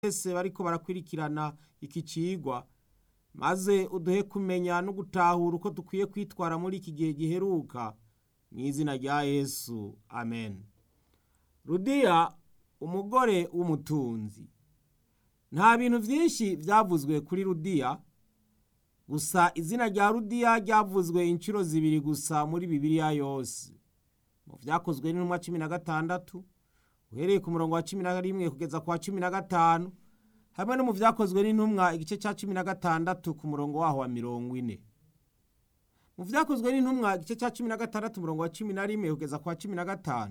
Bose bariko barakwirikirana iki cigwa, maze uduhe kumenya no gutahura uko dukwiye kwitwara muri iki gihe giheruka, mw'izina rya Yesu, amen. Rudiya umugore w'umutunzi. Nta bintu vyinshi vyavuzwe kuri Rudiya, gusa izina rya Rudiya ryavuzwe incuro zibiri gusa muri Bibiliya yose. Mu vyakozwe n'intumwa 16, uhereye ku murongo wa 11 kugeza ku wa 15, hamwe no mu vyakozwe n'intumwa igice ca 16 ku murongo waho wa 40. Mu vyakozwe n'intumwa igice ca 16 umurongo wa 11 kugeza ku wa 15,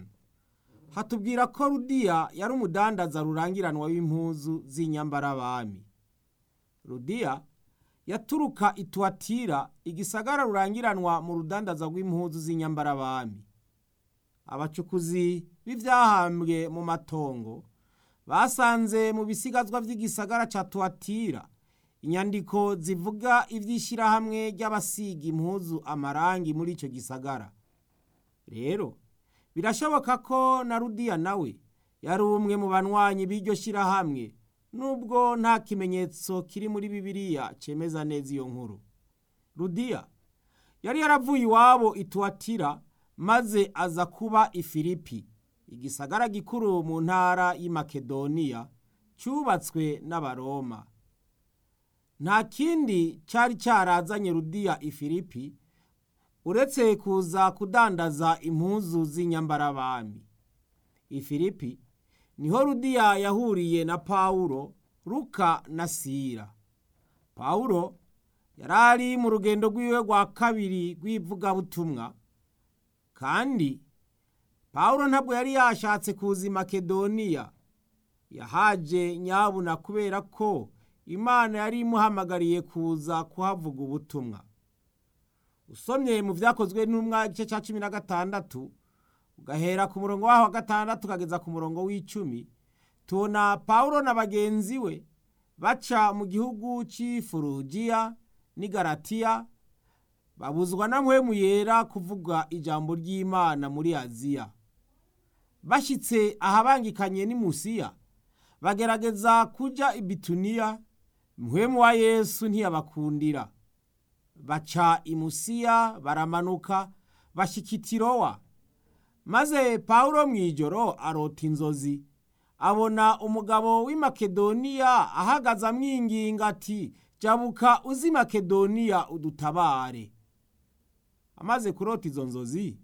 hatubwira ko Rudiya yari umudandaza rurangiranwa w'impuzu z'inyambarabami. Rudiya yaturuka i Tuwatira, igisagara rurangiranwa mu rudandaza rw'impuzu z'inyambarabami. Abacukuzi b'ivyahambwe mu matongo basanze mu bisigazwa vy'igisagara ca Tuwatira inyandiko zivuga ivy'ishirahamwe ry'abasiga impuzu amarangi muri ico gisagara. Rero birashoboka ko na Rudiya nawe yari umwe mu banywanyi b'iryo shirahamwe, nubwo nta kimenyetso kiri muri Bibiliya cemeza neza iyo nkuru. Rudiya yari yaravuye iwabo i Tuwatira maze aza kuba i Filipi, igisagara gikuru mu ntara y'i Makedoniya cubatswe n'Abaroma. Nta kindi cari carazanye Rudiya i Filipi uretse kuza kudandaza impuzu z'inyambarabami. I Filipi niho Rudiya yahuriye na Pawulo, Luka na Sila. Pawulo yarari mu rugendo rwiwe rwa kabiri rw'ivugabutumwa, kandi Pawulo ntabwo yari yashatse kuza i Makedoniya. Yahaje nyabuna kubera ko Imana yari imuhamagariye kuza kuhavuga ubutumwa. Usomye mu vyakozwe n'intumwa igice ca 16, ugahera ku murongo waho wa gatandatu ukageza ku murongo w'icumi, tubona Pawulo na bagenzi we baca mu gihugu c'i Furugiya n'i Galatiya, babuzwa na Mpwemu Yera kuvuga ijambo ry'Imana muri Aziya. Bashitse ahabangikanye n'i Musiya, bagerageza kuja i Bituniya, Mpwemu wa Yesu ntiyabakundira. Baca i Musiya baramanuka bashika i Tirowa. Maze Pawulo mw'ijoro arota inzozi, abona umugabo w'i Makedoniya ahagaze amwinginga ati jabuka uze i Makedoniya udutabare. Amaze kurota izo nzozi,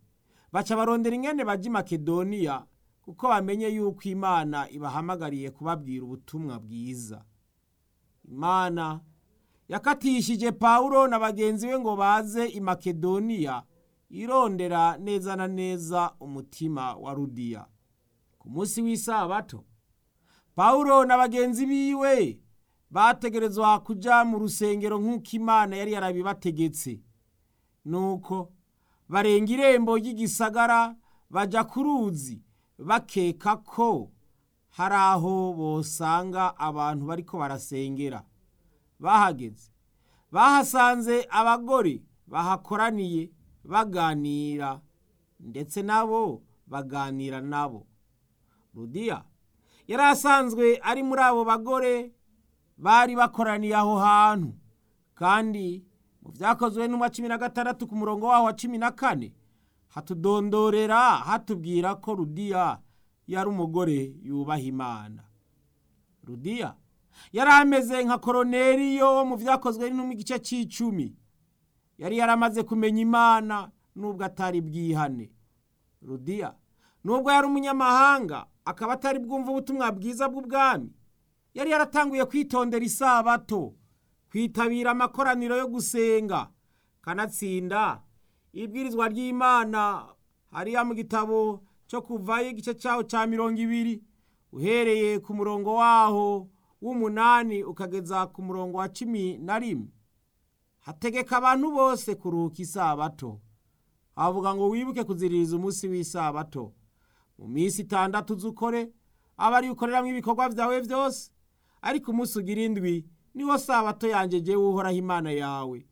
baca barondera ingene baja i Makedoniya kuko bamenye yuko Imana ibahamagariye kubabwira ubutumwa bwiza. Imana yakatishije Pawulo na bagenzi be ngo baze i Makedoniya irondera neza na neza umutima wa Rudiya. Ku munsi w'isabato, Pawulo na bagenzi biwe bategerezwa kuja mu rusengero nk'uko Imana yari yarabibategetse. Nuko barenga irembo ry'igisagara baja ku ruzi, bakeka ko hari aho bosanga abantu bariko barasengera. Bahageze bahasanze abagore bahakoraniye baganira, ndetse nabo baganira nabo. Rudiya yari asanzwe ari muri abo bagore bari bakoraniye aho hantu, kandi mu vyakozwe n'intumwa 16 ku murongo waho wa 14 hatudondorera hatubwira ko Rudiya yari umugore yubaha Imana. Rudiya yari ameze nka Koroneliyo wo mu vyakozwe n'intumwa igice c'icumi. Yari yaramaze kumenya Imana nubwo atari bwihane. Rudiya nubwo yari umunyamahanga akaba atari bwumva ubutumwa bwiza bw'ubwami, yari yaratanguye kwitondera isabato, kwitabira amakoraniro yo gusenga, kanatsinda ibwirizwa ry'Imana hariya mu gitabo cyo kuvayo igice cyaho ca 20, uhereye ku murongo waho w'umunani ukageza ku murongo wa 11. Hategeka abantu bose kuruhuka isabato. Havuga ngo wibuke kuziririza umunsi w'isabato. Mu minsi itandatu uzukore, aba ari ukoreramwo ibikorwa vyawe vyose, ariko umunsi ugira indwi niwo sabato yanje jewe Uhoraho Imana yawe.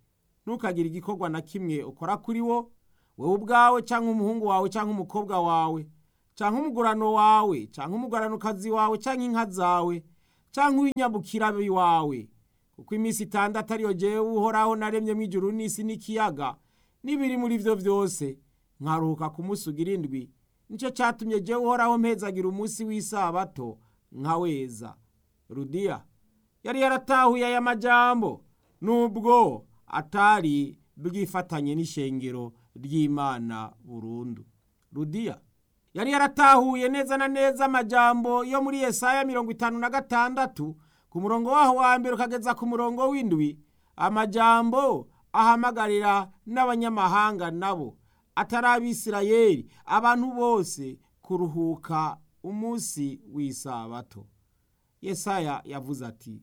Ntukagire igikorwa na kimwe ukora kuri wo, wewe ubwawe canke umuhungu wawe canke umukobwa wawe, canke umugurano wawe canke umuguranokazi wawe canke inka zawe, canke uw'inyabukira iwawe, kuko iminsi 6 ariyo jewe Uhoraho naremyemwo ijuru n'isi n'ikiyaga n'ibiri muri vyo vyose, nkaruhuka ku munsi ugira indwi. Nico catumye jewe Uhoraho mpezagira umunsi w'isabato nkaweza. Rudiya yari yaratahuye aya majambo, nubwo atari bwifatanye n'ishengero ry'Imana burundu. Rudiya yari yaratahuye neza na neza amajambo yo muri Yesaya 56 ku murongo waho wa mbere ukageza ku murongo w'indwi, amajambo ahamagarira n'abanyamahanga nabo atari Abisirayeli, abantu bose kuruhuka umunsi w'isabato. Yesaya yavuze ati: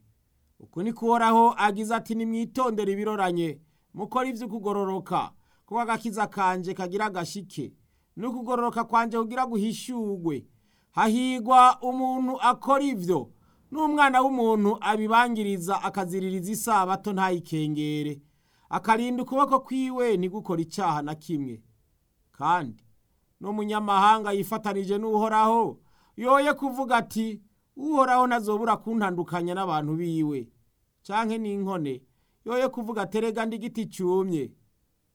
uku niko Uhoraho agize ati, nimwitondere ibiroranye, mukore ivy'ukugororoka, kuko agakiza kanje kagira agashike, n'ukugororoka kwanje kugira guhishurwe. Hahigwa umuntu akora ivyo, n'umwana w'umuntu abibangiriza akaziririza isabato ntayikengere, akarinda ukuboko kwiwe ntigukora icaha na kimwe. Kandi n'umunyamahanga yifatanije n'Uhoraho yoye kuvuga ati: Uhoraho ntazobura kuntandukanya n'abantu biwe. Canke n'inkone yoye kuvuga ati: erega ndi igiti cumye.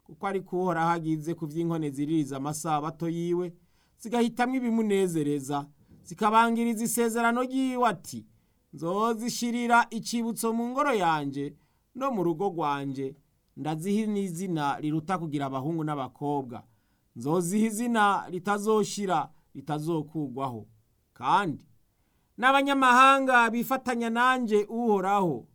Kuko ariko Uhoraho agize ku vy'inkone ziririza amasabato yiwe, zigahitamwo ibimunezereza, zikabangiriza isezerano ryiwe ati: nzozishirira icibutso mu ngoro yanje no mu rugo rwanje, ndaziha n'izina riruta kugira abahungu n'abakobwa, nzoziha izina ritazoshira ritazokugwaho. Kandi n'abanyamahanga bifatanya nanje Uhoraho,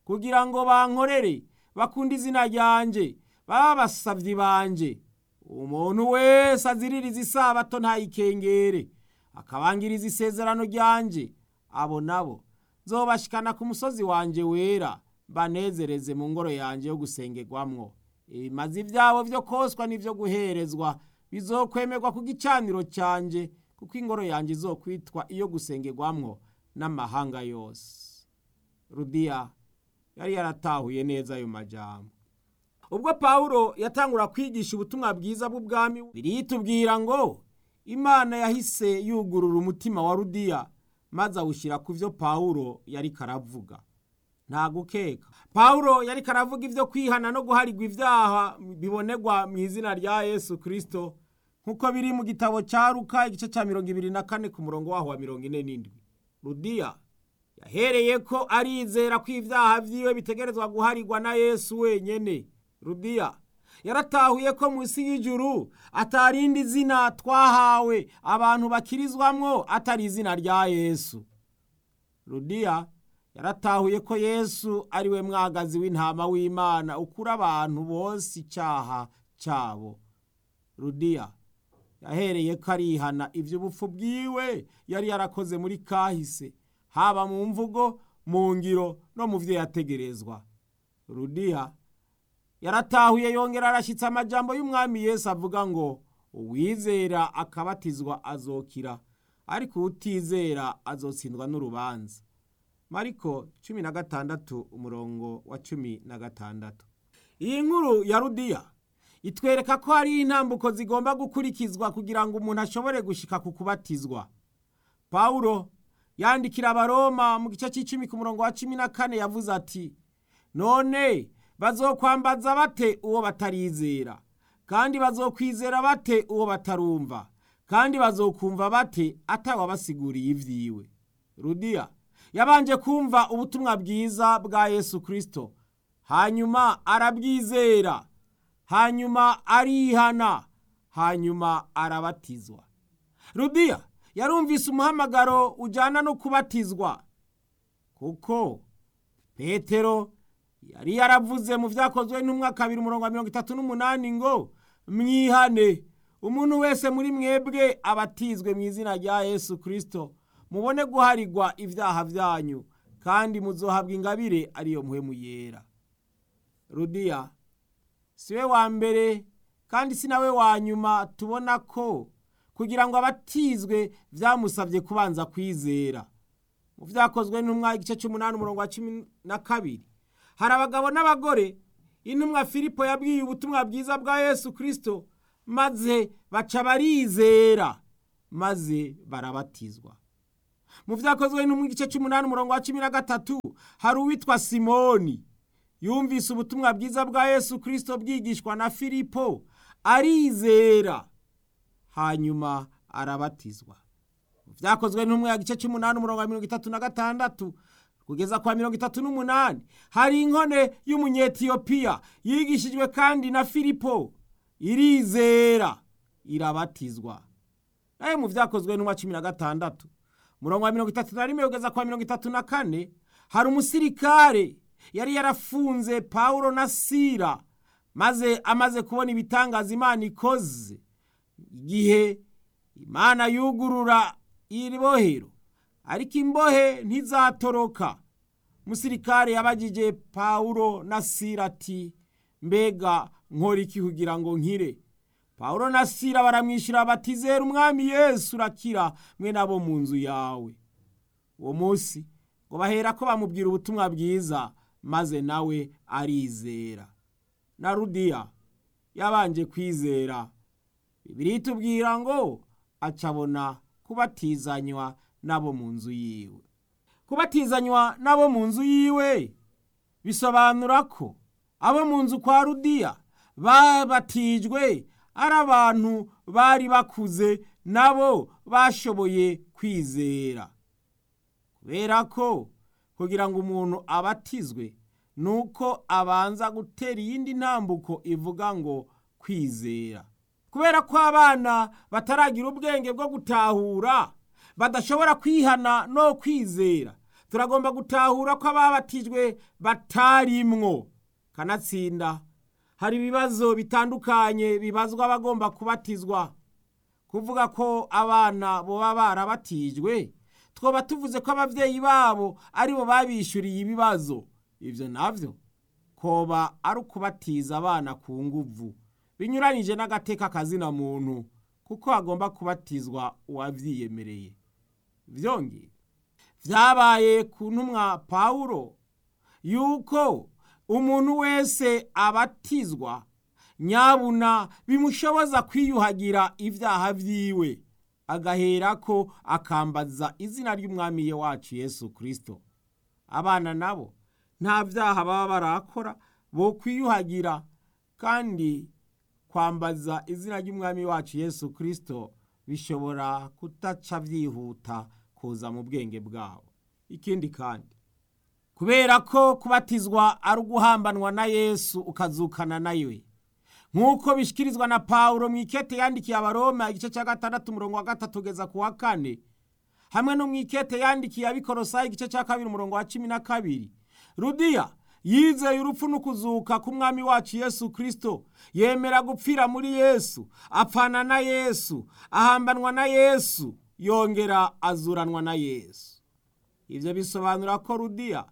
kugira ngo bankorere, bakunde izina ryanje, babe abasavyi banje. Umuntu wese aziririza isabato ntayikengere, akabangiriza isezerano ryanje, abo nabo nzobashikana ku musozi wanje wera, banezereze mu ngoro yanje yo gusengerwamwo. Ibimazi vyabo vyo koswa n'ivyo guherezwa bizokwemerwa ku gicaniro canje, kuko ingoro yanje izokwitwa iyo gusengerwamwo n'amahanga yose. Rudiya yari yaratahuye neza ayo majambo. Ubwo Pawulo yatangura kwigisha ubutumwa bwiza bw'ubwami, biritubwira ngo Imana yahise yugurura umutima wa Rudiya maze awushyira ku vyo Pawulo yariko aravuga. Nta gukeka, Pawulo yariko aravuga ivyo kwihana no guharigwa ivyaha bibonerwa mu izina rya Yesu Kristo, nkuko biri mu gitabo ca Luka igice ca 24 ku murongo waho wa 47. Rudiya yahereye ko arizera ko ivyaha vyiwe bitegerezwa guharigwa na Yesu wenyene. Rudiya yaratahuye ko munsi y'ijuru atarindi zina twahawe abantu bakirizwamwo atari izina rya Yesu. Rudiya yaratahuye ko Yesu ari we mwagazi w'intama w'Imana ukura abantu bose icaha cabo. Rudiya yahereye ko arihana ivy'ubupfu bwiwe yari yarakoze muri kahise, haba mu mvugo, mu ngiro no mu vyo yategerezwa. Rudiya yaratahuye yongera arashitsa amajambo y'umwami Yesu avuga ngo: uwizera akabatizwa azokira, ariko uwutizera azotsindwa n'urubanza. Mariko 16 umurongo wa 16. Iyi nkuru ya Rudiya itwereka ko hari intambuko zigomba gukurikizwa kugira ngo umuntu ashobore gushika ku kubatizwa. Pawulo yandikira Abaroma mu gice c'icumi ku murongo wa 14 yavuze ati: none bazokwambaza bate uwo batarizera? Kandi bazokwizera bate uwo batarumva? Kandi bazokumva bate atawabasiguriye ivyiwe? Rudiya yabanje kumva ubutumwa bwiza bwa Yesu Kristo, hanyuma arabwizera, hanyuma arihana, hanyuma arabatizwa. Rudiya yarumvise umuhamagaro ujana no kubatizwa, kuko Petero yari yaravuze mu vyakozwe n'intumwa 2 umurongo wa 38 ngo: mwihane, umuntu wese muri mwebwe abatizwe mu izina rya Yesu Kristo, mubone guharigwa ivyaha vyanyu, kandi muzohabwa ingabire ariyo mpwemu yera. Rudiya siwe wa mbere kandi si nawe wa nyuma tubona ko kugira ngo abatizwe vyamusavye kubanza kwizera. Mu vyakozwe n'intumwa igice c'umunani umurongo wa 12 hari abagabo n'abagore intumwa Filipo yabwiye ubutumwa bwiza bwa Yesu Kristo, maze baca barizera, maze barabatizwa. Mu vyakozwe no mu gice c'umunani umurongo wa 13 hari uwitwa Simoni yumvise ubutumwa bwiza bwa Yesu Kristo bwigishwa na Filipo, arizera, hanyuma arabatizwa. Mu vyakozwe n'umwe gice c'umunani umurongo wa 36 kugeza kwa 38 hari inkone y'umunyetiyopiya yigishijwe kandi na Filipo, irizera, irabatizwa. Nayo mu vyakozwe n'umwa 16 murongo wa 31 kugeza kwa 34 hari umusirikare yari yarafunze Paulo na Sila, maze amaze kubona ibitangaza Imana ikoze igihe Imana yugurura iribohero, ariko imbohe ntizatoroka. Umusirikare yabajije Paulo na Sila ati: mbega nkora iki kugira ngo nkire? Paulo na Sila baramwishyura bati: zera umwami Yesu urakira mwe nabo mu nzu yawe. Uwo munsi ngo bahera ko bamubwira ubutumwa bwiza, maze nawe arizera. Na Rudiya yabanje kwizera. Bibiliya itubwira ngo acabona kubatizanywa nabo mu nzu yiwe. Kubatizanywa nabo mu nzu yiwe bisobanura ko abo mu nzu kwa Rudiya babatijwe ari abantu bari bakuze, nabo bashoboye kwizera. Kubera ko kugira ngo umuntu abatizwe nuko abanza gutera iyindi ntambuko ivuga ngo kwizera. Kubera ko abana bataragira ubwenge bwo gutahura, badashobora kwihana no kwizera, turagomba gutahura ko ababatijwe batarimwo. Kanatsinda hari ibibazo bitandukanye bibazwa abagomba kubatizwa. Kuvuga ko abana boba barabatijwe, twoba tuvuze ko abavyeyi babo aribo babishuriye ibibazo. Ivyo navyo koba ari ukubatiza abana ku nguvu, binyuranije n'agateka kazina muntu, kuko agomba kubatizwa uwavyiyemereye. Vyongeye vyabaye ku ntumwa Pawulo yuko umuntu wese abatizwa nyabuna bimushoboza kwiyuhagira ivyaha vyiwe, agaherako akambaza izina ry'umwami wacu Yesu Kristo. Abana nabo nta vyaha baba barakora bo kwiyuhagira, kandi kwambaza izina ry'umwami wacu Yesu Kristo bishobora kutaca vyihuta kuza mu bwenge bwabo. Ikindi kandi, kubera ko kubatizwa ari uguhambanwa na Yesu ukazukana nawe, nk'uko bishikirizwa na Pawulo mu ikete yandikiye Abaroma igice cya 6 umurongo wa 3 kugeza ku wa 4, hamwe no mu ikete yandikiye Abikorosayi igice cya 2 umurongo wa 12, Rudiya yizeye urupfu n'ukuzuka k'umwami wacu Yesu Kristo, yemera gupfira muri Yesu, apfana na Yesu, ahambanwa na Yesu, yongera azuranwa na Yesu. Ivyo bisobanura ko Rudiya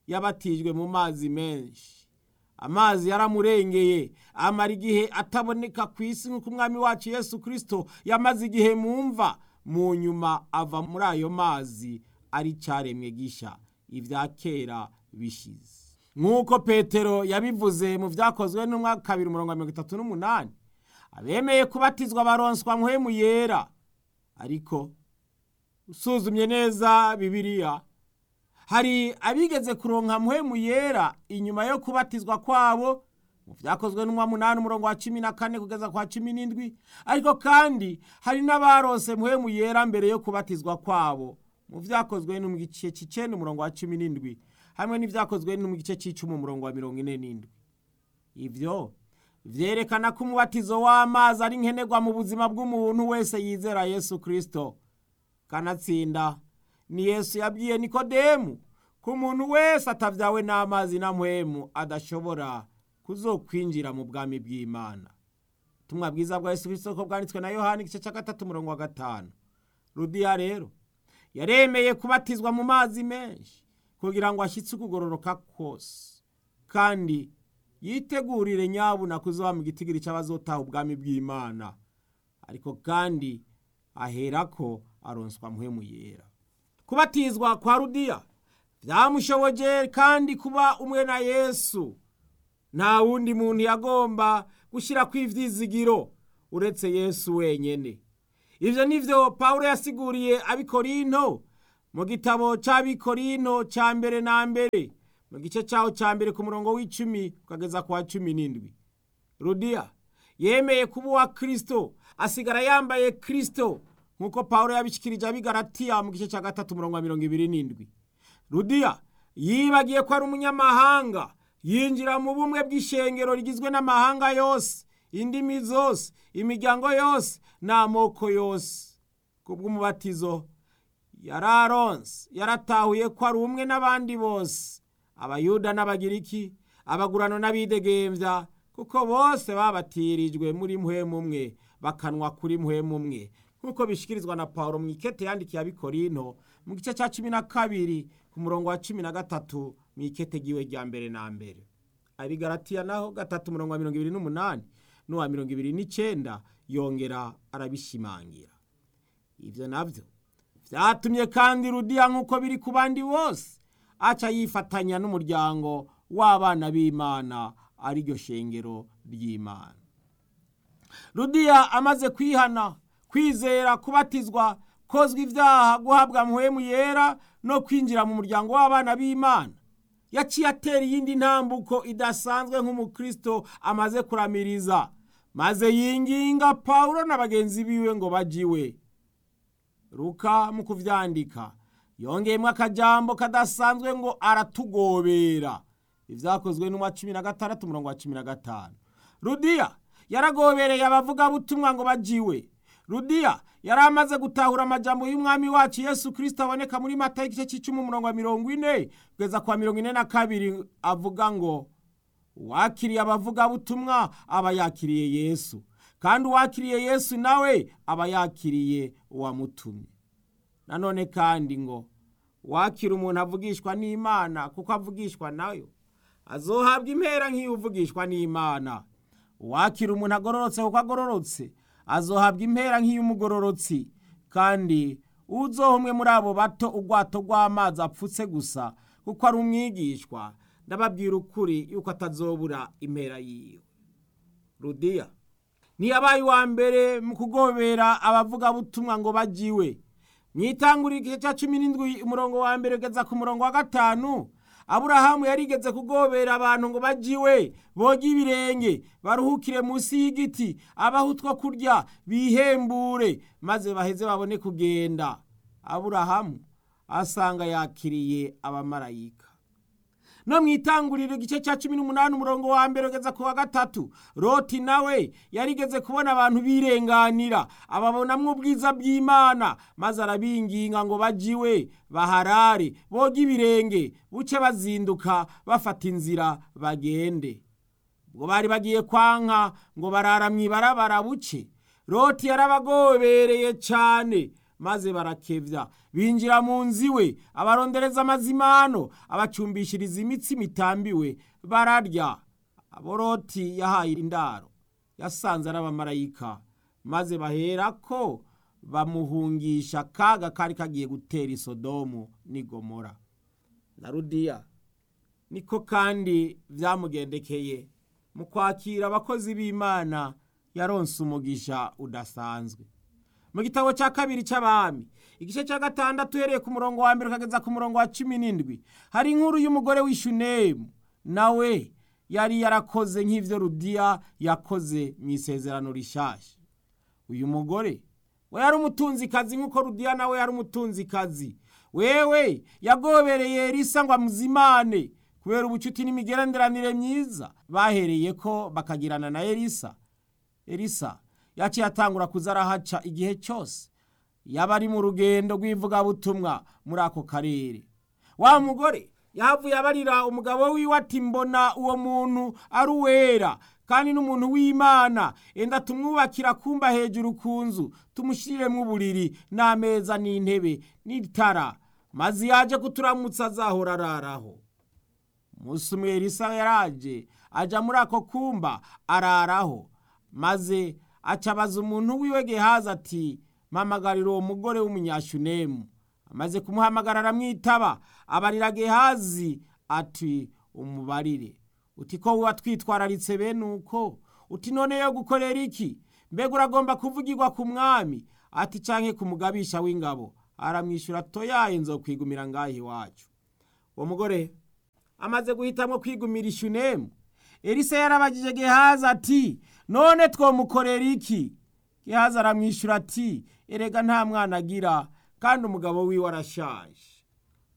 yabatijwe mu mazi menshi. Amazi yaramurengeye, amara igihe ataboneka ku isi nk'uko umwami wacu Yesu Kristo yamaze igihe mu mva, mu nyuma ava muri ayo mazi ari caremwe gisha, ibya kera bishize. Nk'uko Petero yabivuze mu vyakozwe n'umwaka 2 umurongo wa 38, abemeye kubatizwa baronswa mpwemu yera. Ariko usuzumye neza Bibiliya, hari abigeze kuronka mpwemu yera inyuma yo kubatizwa kwabo mu vyakozwe n'umwa 8 umurongo wa 14 kugeza kwa 17, ariko kandi hari n'abarose mpwemu yera mbere yo kubatizwa kwabo mu vyakozwe no mu gice c'icenda umurongo wa 17 hamwe n'ivyakozwe no mu gice c'icumi umurongo wa 47. Ivyo vyerekana ko umubatizo w'amazi ari nkenerwa mu buzima bw'umuntu wese yizera Yesu Kristo. Kanatsinda ni Yesu yabwiye Nikodemu ko umuntu wese atavyawe n'amazi na mpwemu adashobora kuzokwinjira mu bwami bw'Imana. Ubutumwa bwiza bwa Yesu Kristo ko bwanditswe na Yohana igice ca 3 umurongo wa 5. Rudiya rero yaremeye kubatizwa mu mazi menshi kugira ngo ashitse ukugororoka kose, kandi yitegurire nyabuna kuzoba mu gitigiri c'abazotaha ubwami bw'Imana. Ariko kandi aherako aronswa mpwemu yera. Kubatizwa kwa Rudiya vyamushoboje kandi kuba umwe na Yesu. Nta wundi muntu yagomba gushira kw'ivyizigiro uretse Yesu wenyene. Ivyo nivyo Pawulo yasiguriye abikorinto Mu gitabo cy'Abikorino cya mbere na mbere, mu gice cyaho cya mbere ku murongo w'10 ukageza ku wa 17. Rudiya yemeye kuba uwa Kristo, asigara yambaye Kristo nk'uko Pawulo yabishikirije Abigalatiya mu gice cya 3 umurongo wa 27. Rudiya yibagiye ko ari umunyamahanga, yinjira mu bumwe bw'ishengero rigizwe n'amahanga yose, indimi zose, imiryango yose n'amoko yose. Kubw'umubatizo yararonse, yaratahuye ko ari umwe n'abandi bose, Abayuda n'Abagiriki, abagurano n'abidegembya, kuko bose babatirijwe muri mpwemu umwe, bakanwa kuri mpwemu umwe, nk'uko bishikirizwa na Pawulo mu ikete yandikiye Abikorinto mu gice cya 12 ku murongo wa 13 mu ikete giwe rya mbere na mbere. Abigalatiya naho 3 umurongo wa 28 n'uwa 29 yongera arabishimangira. Ivyo navyo vyatumye kandi Rudiya, nk'uko biri ku bandi bose, aca yifatanya n'umuryango w'abana b'Imana, ariryo shengero ry'Imana. Rudiya amaze kwihana, kwizera, kubatizwa, kozwa ibyaha, guhabwa mpwemu yera no kwinjira mu muryango w'abana b'Imana, yaciye atera iyindi ntambuko idasanzwe nk'umukristo amaze kuramiriza, maze yinginga Pawulo na bagenzi biwe ngo bajiwe. Luka mu kuvyandika yongeyemwo akajambo kadasanzwe ngo aratugobera. Ivyakozwe n'umwa 16 umurongo wa 15. Rudiya yaragobereye abavugabutumwa ngo bajiwe. Rudiya yari amaze gutahura amajambo y'umwami wacu Yesu Kristo aboneka muri Matayo igice c'icumi umurongo wa 40 kugeza kwa 42, avuga ngo uwakiriye abavugabutumwa aba yakiriye Yesu, kandi uwakiriye Yesu nawe aba yakiriye uwamutumye. Nanone kandi ngo uwakira umuntu avugishwa n'Imana kuko avugishwa nayo azohabwa impera nk'iyuvugishwa n'Imana. Uwakira umuntu agororotse kuko agororotse azohabwa impera nk'iy'umugororotsi. Kandi uzoha umwe muri abo bato urwato rw'amazi apfutse gusa kuko ari umwigishwa, ndababwira ukuri yuko atazobura impera yiwe. Rudiya ntiyabaye uwa mbere mu kugobera abavugabutumwa ngo bajiwe. Mwitangurira igice cya 17 umurongo wa mbere ugeza ku murongo wa 5, Aburahamu yarigeze kugobera abantu ngo bajiwe, boge ibirenge, baruhukire munsi y'igiti, abahe utwo kurya, bihembure, maze baheze babone kugenda. Aburahamu asanga yakiriye abamarayika. No mwitanguriro igice cya 18 umurongo wa mbere ugeza ku wa 3, Loti nawe yarigeze kubona abantu birenganira, ababonamwo ubwiza bw'Imana, maze arabinginga ngo bajiwe, baharare, boge ibirenge, buce bazinduka bafata inzira bagende. Ubwo bari bagiye kwanka ngo barara mw'ibarabara buce, Loti yarabagobereye cane, maze barakevya, binjira mu nzu iwe, abarondereza amazimano, abacumbishiriza imitsi mitambiwe, bararya. Abo Loti yahaye indaro yasanze ari abamarayika, maze baherako bamuhungisha akaga kari kagiye gutera i Sodomu n'i Gomora. Na Rudiya niko kandi vyamugendekeye mu kwakira abakozi b'Imana, yaronse umugisha udasanzwe. Mu gitabo cya kabiri cy'Abami igice cya 6 uhereye ku murongo wa mbere ukageza ku murongo wa 17, hari inkuru y'umugore w'Ishunemu, nawe yari yarakoze nk'ivyo Rudiya yakoze mu isezerano rishasha. Uyu mugore we yari umutunzikazi nk'uko Rudiya nawe yari umutunzikazi. Wewe yagobereye Elisa ngo amuzimane kubera ubucuti n'imigenderanire myiza bahereye ko bakagirana na Elisa. Elisa yaciye atangura kuza arahaca igihe cyose yaba ari mu rugendo rw'ivugabutumwa muri ako karere. Wa mugore yahavuye abarira umugabo wiwe ati mbona uwo muntu ari uwera kandi n'umuntu w'Imana, enda tumwubakira kumba hejuru ku nzu, tumushiriremo uburiri n'ameza n'intebe n'itara, maze yaje kuturamutsa azahora araraho. Umunsi umwe Elisa yaraje aja muri ako kumba araraho, maze acabaza umuntu wiwe Gehazi ati mpamagarira uwo mugore w'umunyashunemu. Amaze kumuhamagara aramwitaba, abarira Gehazi ati umubarire uti ko watwitwararitse bene uko, uti none yo gukorera iki? Mbega uragomba kuvugirwa ku mwami? Ati canke ku mugabisha w'ingabo? Aramwishyura toyaye nzokwigumira ngaho iwacu. Uwo mugore amaze guhitamwo kwigumira Ishunemu, Elisa yarabagije Gehazi ati none twomukorera iki? Gehazi aramwishyura ati erega nta mwana agira kandi umugabo wiwe arashaje.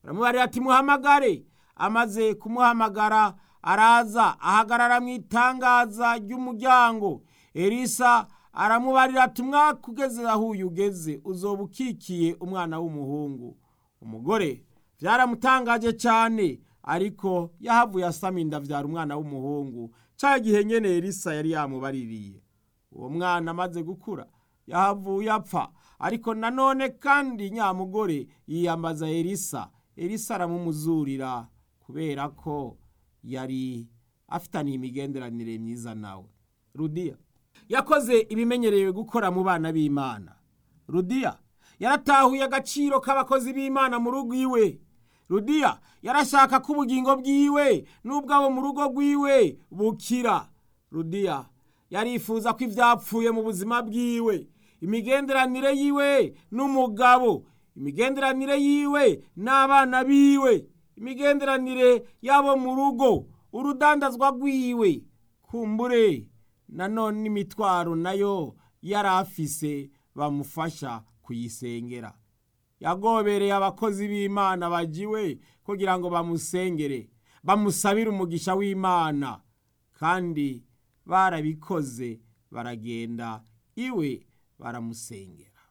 Aramubarira ati muhamagare. Amaze kumuhamagara araza ahagarara mu itangaza ry'umuryango. Elisa aramubarira ati umwaka ugeze aho uyu ugeze uzoba ukikiye umwana w'umuhungu. Umugore byaramutangaje cyane, ariko yahavuye asama inda abyara umwana w'umuhungu cya gihe nyene Elisa yari yamubaririye. Uwo mwana amaze gukura yahavuye apfa, ariko nanone kandi nyamugore yiyambaza Elisa. Elisa aramumuzurira kubera ko yari afitaniye imigenderanire myiza nawe. Rudiya yakoze ibimenyerewe gukora mu bana b'Imana. Rudiya yaratahuye agaciro k'abakozi b'Imana mu rugo iwe. Rudiya yarashaka ko ubugingo bwiwe n'ubwabo mu rugo rwiwe bukira. Rudiya yarifuza ko ibyapfuye mu buzima bwiwe, imigenderanire yiwe n'umugabo, imigenderanire yiwe n'abana biwe, imigenderanire y'abo mu rugo, urudandazwa rwiwe, kumbure nanone n'imitwaro nayo yari afise bamufasha kuyisengera. Yagobereye abakozi b'Imana bajiwe kugira ngo bamusengere, bamusabire umugisha w'Imana, kandi barabikoze baragenda iwe baramusengera.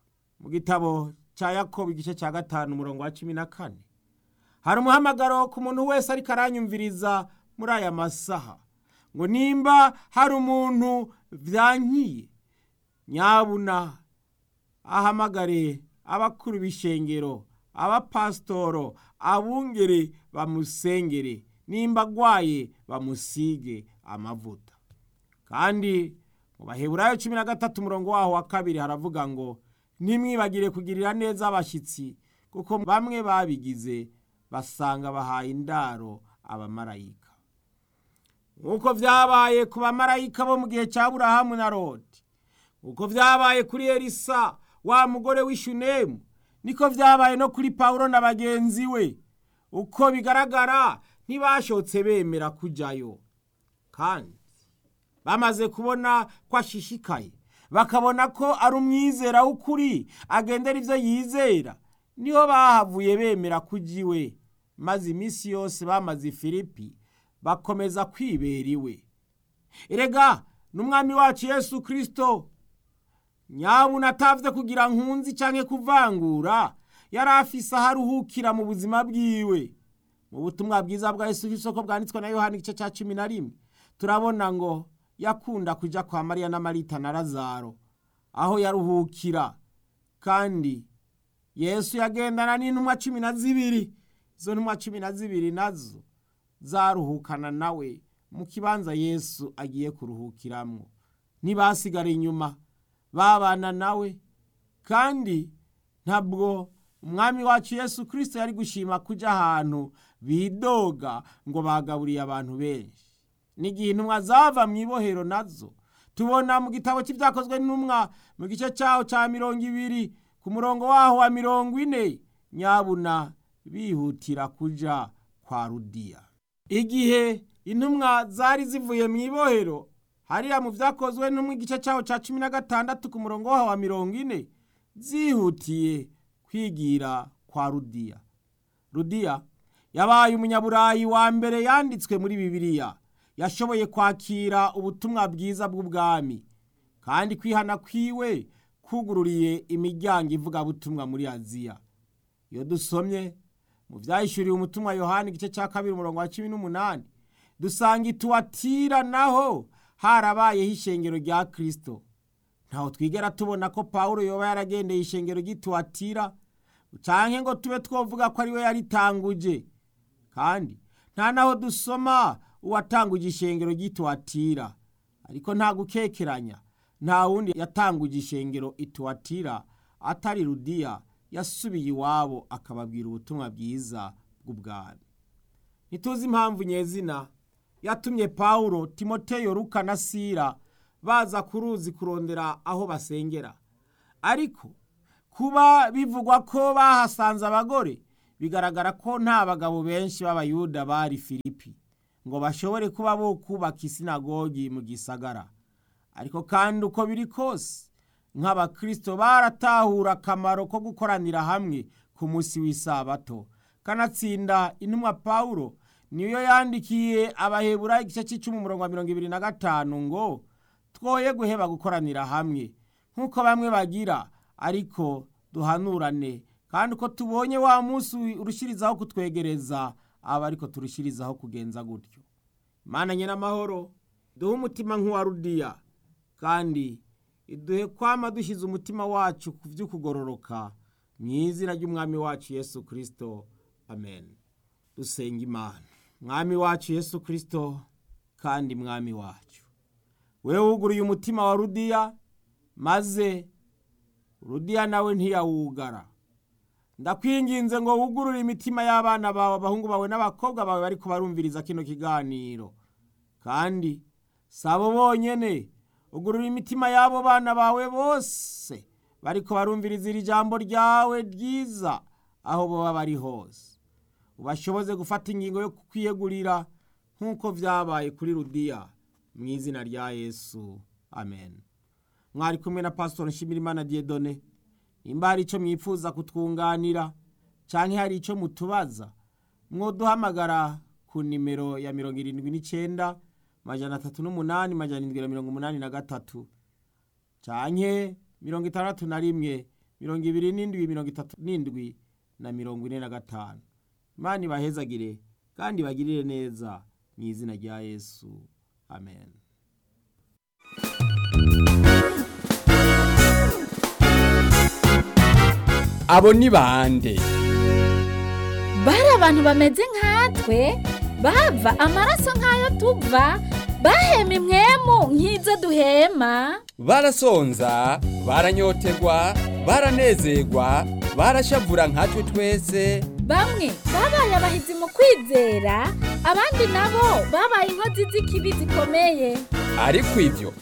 Mu gitabo cya Yakobo igice cya 5 umurongo wa 14 hari umuhamagaro ku muntu wese ariko aranyumviriza muri aya masaha ngo nimba hari umuntu byankiye nyabuna ahamagare abakuru b'ishengero, abapasitoro, abungere bamusengere, nimba agwaye bamusige amavuta. Kandi mu Baheburayo 13 umurongo waho wa 2 haravuga ngo ntimwibagire kugirira neza abashyitsi, kuko bamwe babigize basanga bahaye indaro abamarayika. Nk'uko vyabaye ku bamarayika bo mu gihe cya Aburahamu na Loti, uko vyabaye kuri Elisa wa mugore w'Ishunemu, niko vyabaye no kuri Pawulo na bagenzi we. Uko bigaragara ntibashotse bemera kujayo, kandi bamaze kubona ko ashishikaye, bakabona ko ari umwizera w'ukuri agendera ivyo yizera, niho bahavuye bemera kuja iwe. Maze iminsi yose bamaze i Filipi bakomeza kwibera iwe. Erega n'umwami wacu Yesu Kristo nyabuna atavye kugira nkunzi canke kuvangura, yari afise aho aruhukira mu buzima bwiwe. Mu butumwa bwiza bwa Yesu Kristo ko bwanditswe na Yohana igice ca 11 turabona ngo yakunda kuja kwa Mariya na Marita na Lazaro aho yaruhukira. Kandi Yesu yagendana n'intumwa 12. Izo ntumwa 12 nazo zaruhukana nawe mu kibanza Yesu agiye kuruhukiramwo. Ntibasigara inyuma, babana nawe. Kandi ntabwo umwami wacu Yesu Kristo yari gushima kuja ahantu bidoga ngo bagaburiye abantu benshi. N'igihe intumwa zava mu ibohero nazo tubona mu gitabo cy'ibyakozwe n'intumwa mu gice cyaho ca 20 ku murongo waho wa 40, nyabuna bihutira kuja kwa Rudiya. Igihe intumwa zari zivuye mu ibohero, hariya mu vyakozwe n'intumwa igice cyaho ca 16 ku murongo waho wa 40, zihutiye kwigira kwa Rudiya. Rudiya yabaye umunyaburayi wa mbere yanditswe muri Bibiliya yashoboye kwakira ubutumwa bwiza bw'ubwami, kandi kwihana kwiwe kugururiye imiryango ivugabutumwa muri Aziya. Iyo dusomye mu vyahishuriwe umutumwa Yohana igice ca 2 umurongo wa 18 dusanga Ituwatira naho harabayeho ishengero rya Kristo. Ntaho twigera tubona ko Pawulo yoba yaragendeye ishengero ry'Ituwatira canke ngo tube twovuga ko ari we yaritanguje. Kandi nta naho dusoma uwatanguje ishengero ry'Ituwatira, ariko nta gukekeranya nta wundi yatanguje ishengero Ituwatira atari Rudiya yasubiye iwabo akababwira ubutumwa bwiza bw'ubwami. Ntituzi impamvu nyezina yatumye Pawulo, Timoteyo, Luka na Sila baza ku ruzi kurondera aho basengera, ariko Kuba bivugwa ko bahasanze abagore, bigaragara ko nta bagabo benshi b'Abayuda bari Filipi ngo bashobore kuba bo kubaka isinagogi mu gisagara. Ariko kandi uko biri kose, nk'abakristo baratahura akamaro ko gukoranira hamwe ku munsi w'isabato. Kanatsinda intumwa Pawulo niyo yandikiye Abaheburayo igice c'icumi umurongo wa 25 ngo twoye guheba gukoranira hamwe nk'uko bamwe bagira, ariko duhanurane, kandi uko tubonye wa munsi urushirizaho kutwegereza, aba ariko turushirizaho kugenza gutyo. Imana nyenamahoro, duhe umutima nk'uwa Rudiya, kandi iduhe kwama dushyize umutima wacu ku vy'ukugororoka, mu izina ry'umwami wacu Yesu Kristo, amen. Dusenga Imana. Mwami wacu Yesu Kristo, kandi mwami wacu, wewe wuguruye umutima wa Rudiya, maze Rudiya nawe ntiyawugara. Ndakwinginze ngo wugurure imitima y'abana bawe, abahungu bawe n'abakobwa bawe bariko barumviriza kino kiganiro. Kandi sabo bonyene, ugurura imitima y'abo bana bawe bose bariko barumviriza iri jambo ryawe ryiza aho boba bari hose. Ubashoboze gufata ingingo yo kukwiyegurira nk'uko vyabaye kuri Rudiya, mu izina rya Yesu, amen. Mwari kumwe na Pastor Nshimirimana Dieudonné. Nimba hari ico mwifuza kutwunganira canke hari ico mutubaza, mwoduhamagara ku nimero ya 79 308 783 canke 61 27 37 na 45. Imana ibahezagire kandi ibagirire neza mu izina rya Yesu, amen. Abo ni bande? Bari abantu bameze nkatwe, bava amaraso nk'ayo tuva, bahema impwemu nk'izo duhema. Barasonza, baranyotegwa, baranezerwa, barashavura nkatwe twese. Bamwe babaye abahizi mu kwizera, abandi nabo babaye inkozi z'ikibi zikomeye. Ariko ivyo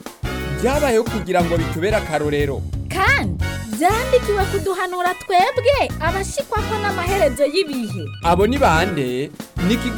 byabayeho kugira ngo bitubere akarorero. Kandi byandikiwe kuduhanura twebwe abashikwako n'amaherezo y'ibihe. Abo ni bande? Ni ikiganiro.